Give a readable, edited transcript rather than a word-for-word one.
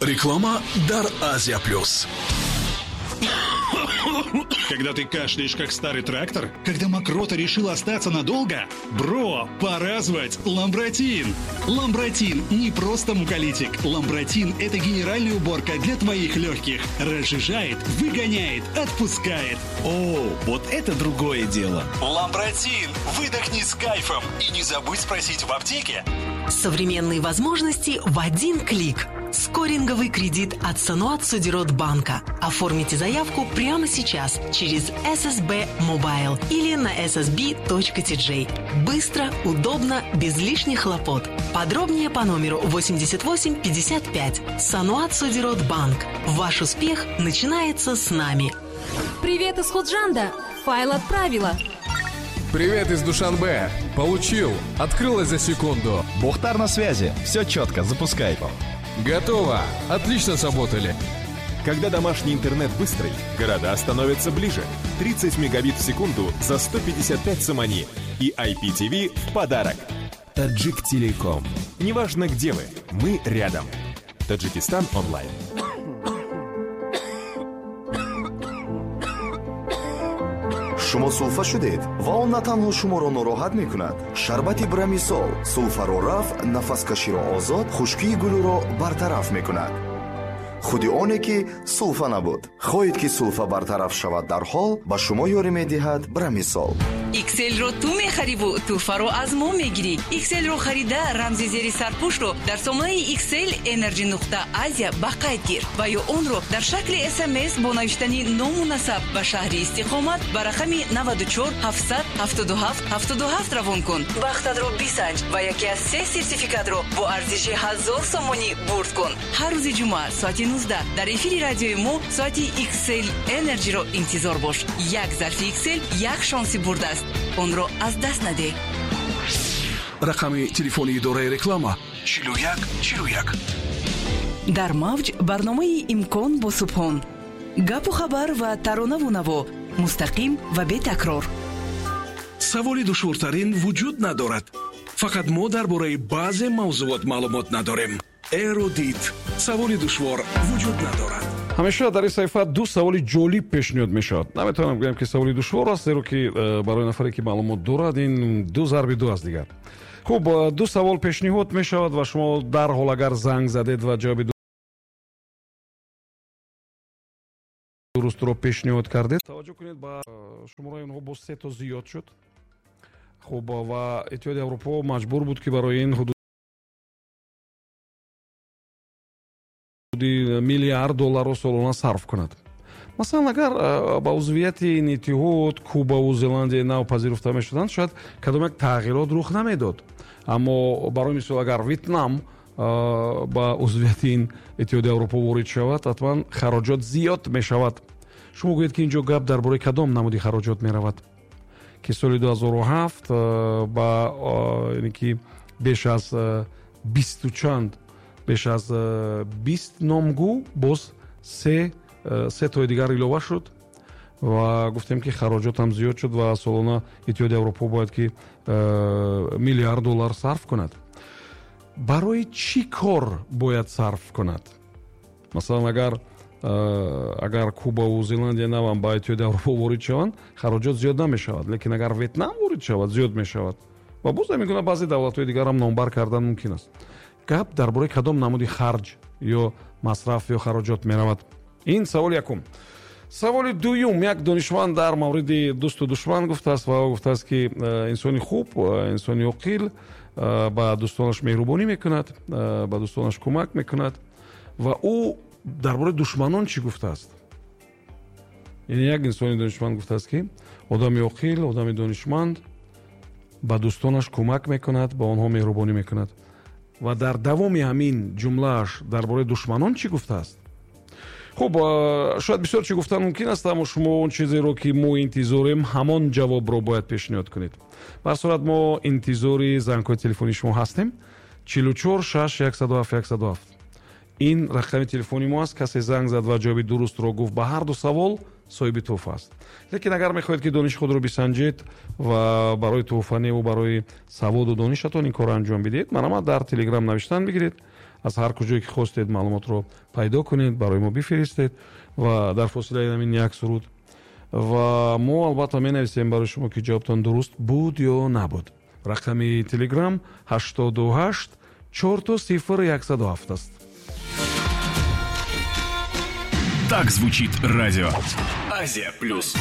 Реклама дар Азия Плюс. Когда ты кашляешь, как старый трактор? Когда мокрота решила остаться надолго? Бро, пора звать Ламбратин! Ламбратин не просто муколитик. Ламбратин – это генеральная уборка для твоих легких. Разжижает, выгоняет, отпускает. О, вот это другое дело. Ламбратин! Выдохни с кайфом и не забудь спросить в аптеке. Современные возможности в один клик. Скоринговый кредит от Саноат Содирот банка. Оформите заявку прямо сейчас через SSB Mobile или на ssb.tj. Быстро, удобно, без лишних хлопот. Подробнее по номеру 88 55. Саноат Содирот банк. Ваш успех начинается с нами. Привет из Худжанда. Файл отправила. Привет из Душанбе. Получил. Открылось за секунду. Бохтар на связи. Все четко. Запускай. Готово. Отлично сработали. Когда домашний интернет быстрый, города становятся ближе. 30 мегабит в секунду за 155 сомони. И IPTV в подарок. Таджик Телеком. Неважно, где вы, мы рядом. Таджикистан онлайн. Шумо сулфа шудед ва он на танҳо шуморо нороҳат мекунад. Шарбати Брамисол сулфаро рафт, нафаскаширо озод, хушкии гулӯро бартараф мекунад. Худи оне ки сулфа набуд. Хоҳед, ки сулфа бартараф шавад дарҳол, ба шумо ёрӣ медиҳад Брамисол. Икселро ту мехариву тӯҳфаро аз мо мегирӣ. Икселро харида, рамзи зери сарпӯшро дар сомонаи Иксел Energy нуқта Азия ба қайд гир ва ё онро дар шакли СМС бо навиштани ному насаб ба шаҳри истиқомат ба рақами 94 777 77 равон кун. Бахтатро бисанҷ ва яке аз се сертификатро бо арзиши 1000 сомонӣ бурд кун. Ҳар рӯзи ҷумъа соати 19 дар эфири радиои мо соати Иксел Energyро интизор бош. Як зарфи Иксел як шонси бурд аст, онро аз даст надеҳ. Рақами телефони идораи реклама: 41 41. Дар мавҷ барномаи «Имкон» бо Субҳон. Гапу хабар ва таронаву наво мустақим ва бетакрор. Саволи душвортарин вуҷуд надорад, фақат мо дар бораи баъзе мавзуот маълумот надорем. Эрудит, саволи душвор вуҷуд надорад. Ҳамеша дар ин саҳифа ду саволи ҷолиб пешниҳод мешавад. Наметавонам гӯям, ки саволи душвор аст, зеро ки барои нафаре, ки маълумот дорад, ин ду зарби ду аст дигар. Хуб, ду савол пешниҳод мешавад ва шумо дарҳол, агар занг задед ва ҷавоби дурустро пешниҳод кардед, таваҷҷӯҳ кунед, ба шумораи онҳо боз се то зиёд шуд. Хуб, ва Иттиҳоди Аврупо маҷбур буд, ки барои ин ҳудуди миллиард долларро солона сарф кунад. Масалан, агар ба узвияти ин иттиҳод Кубаву Зеландияи Нав пазируфта мешуданд, шояд кадом як тағйирот рух намедод. Аммо, барои мисол, агар Витнам ба узвияти ин Иттиҳоди Аврупо ворид шавад, ҳатман хароҷот зиёд мешавад. Шумо гӯед, ки ин ҷо гап дар бораи кадом намуди хароҷот меравад, ки соли 2007 ба яъне ки беш аз бисту чанд, беш аз 20 номгӯ боз се тои дигар илова шуд ва гуфтем, ки хароҷотам зиёд шуд ва солона Иттиҳоди Аврупо бояд ки миллиард доллар сарф кунад. Барои чӣ кор бояд сарф кунад? Масалан, агар Кубаву Зеландия Навам ба Иттиҳоди Аврупо ворид шаванд, хароҷот зиёд намешавад, лекин агар Ветнам ворид шавад, зиёд мешавад. Ва боз ҳамин гуна баъзе давлатҳои дигарам номбар кардан мумкин аст. Гап дар бораи кадом намуди харҷ ё масраф ё хароҷот меравад? Ин саволи якум. Саволи дуюм: як донишманд дар мавриди дӯсту душман гуфтааст ва гуфтааст, ки инсони хуб, инсони оқил ба дӯстонаш меҳрубонӣ мекунад, ба дӯстонаш кӯмак мекунад. Ва ӯ дар бораи душманон чӣ гуфтааст? Яъне як инсони донишманд гуфтааст, ки одами оқил, одами донишманд ба дӯстонаш кӯмак мекунад, ба онҳо меҳрубонӣ мекунад. Ва дар давоми ҳамин ҷумлааш дар бораи душманон чӣ гуфтааст? Хуб, шояд бисёр чӣ гуфтан мумкин аст, аммо шумо он чизеро, ки мо интизорем, ҳамон ҷавобро бояд пешниҳод кунед. Ба ҳар сурат, мо интизори зангҳои телефонии шумо ҳастем. 44 6 107 107 ин рақами телефони мо аст. Касе занг зад ва ҷавоби дурустро гуфт ба ҳар ду савол, соҳиби тӯҳфа аст. Лекин агар мехоҳед, ки дониши худро бисанҷед ва барои тӯҳфа неву барои саводу донишатон ин корро анҷом бидиҳед, марҳамат, дар Телеграм навиштан бигиред. Аз ҳар куҷое ки хостед, маълумотро пайдо кунед, барои мо бифиристед ва дар фосилаи ҳамин як суруд ва мо албатта менависем барои шумо, ки ҷавобтон дуруст буд ё набуд. Рақами Телеграм 88 000 107 аст. Так звучит радио. Азия плюс.